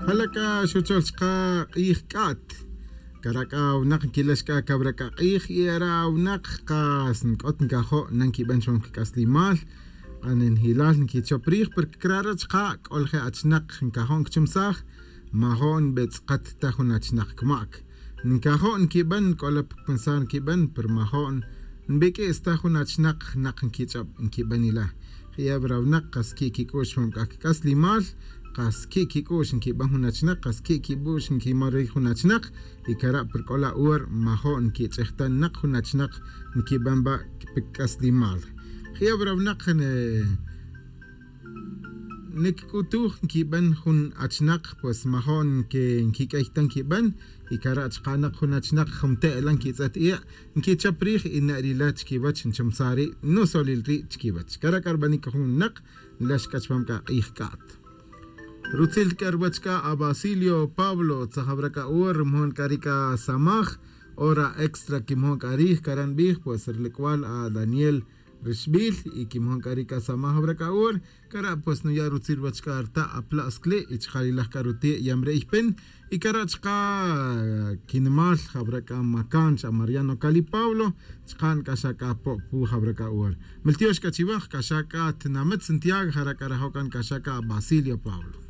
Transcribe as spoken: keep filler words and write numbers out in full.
Jala' c'a xuchol chka k'ij c'a't. Cara' c'a winak nquilex c'a cawra c'a k'ij y ara' winak kas nc'ot ncajo' na nquiben chupam quic'aslimal. K'an njilal nquichop rij porque crare' chka c'o lje' achinak ncajo' nquichumsaj. Majo' nbetz'kat ta jun achinak cmac ncajo' nquiben c'ola pcpensar nquiben pero majo' nbiq'uis ta jun achinak nak nquich'ob nquiben ila. Je'e awra winak kas qui' quic'u'x chupam c'a quic'aslimal. Kas qui' quic'u'x nquiben jun achinak kas qui' quic'u'x nquimol ric jun achinak. Y cara' pero c'ola hora majo' nquich'ej ta nak jun achinak nquiben ba. Pe quic'aslimal je'e awra winak ne nic'utuj nquiben jun achinak pues majo' nquiq'uey ta nquiben. Y cara' chka nak jun achinak jun te'ela nquitz'et i'a' nquichop rij y ne'rila chiquiwech nchumsaj ri' nusolil ri' chiquiwech cara' c'a rbanic jun winak. Nlex c'a chupam c'a k'ij c'a't. Rutzil c'a ruwech c'a abasilio pablo tzajawra c'a hora rumojon c'a ri c'a samaj hora extra quimojon c'a rij cara' nbij pues rilic'wal adaniel rixbil y quimojon c'a ri c'a samaj awra c'a hora. Cara' pues nuya' rutzil wach c'a rta' apla' scli' y chka rilaj c'a ruti' yamre' ypin. Y cara' chka quinimal jawra c'a macan cha mariano cali pablo. Chka nc'axa c'a po'pu jawra c'a hora. Miltiox c'a chiwaj c'a xa c'a tinamit santiago jara' c'a rajo' c'a nc'axa c'a basilio pablo.